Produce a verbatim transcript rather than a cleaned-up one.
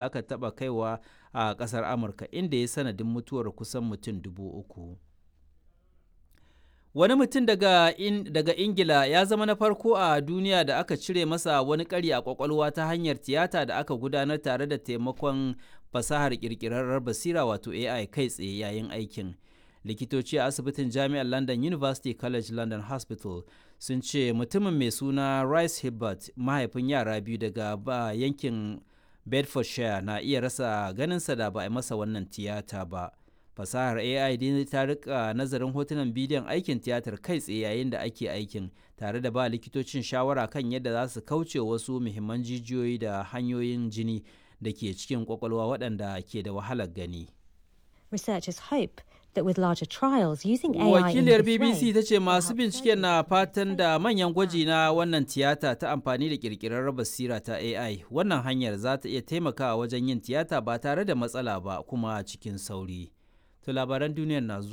Aka taɓa kaiwa a ƙasar Amurka, inda ya yi sanadin mutuwar kusan mutum dubu uku. Wani mutum daga, daga Ingila ya zama na farko a duniya da aka cire masa wani ƙari a ƙwaƙwalwa ta hanyar tiyata da aka gudanar tare da taimakon fasahar ƙirƙirarrar basira wato A I kai tsaye yayin aikin. Likitoci a asibitin Jami'ar London University College London Hospital sun ce mutumin mai suna Rice Hibbert, mahaifin yara biyu daga ba yankin Bedfordshire, na iya rasa ganinsa da ba a masa wannan tiyata ba. Fasahar A I dai ta rika nazarin hotunan bidiyon aikin tiyatar kai tsaye yayin da ake aikin, tare da ba likitocin shawara kan yadda za su kauce wasu muhimman jijiyoyi da hanyoyin jini da ke cikin kwakwalwa waɗanda ke da wahalar gani. Researchers hope that with larger trials using A I in Wakiliyar this B B C way ta ce masu binciken na fatan da manyan gwaji na wannan tiyata ta amfani da kirkirar basira ta A I, wannan hanyar za ta iya taimakawa wajen yin tiyata ba tare da matsala ba kuma cikin sauri. To, labaran duniyar na zuwa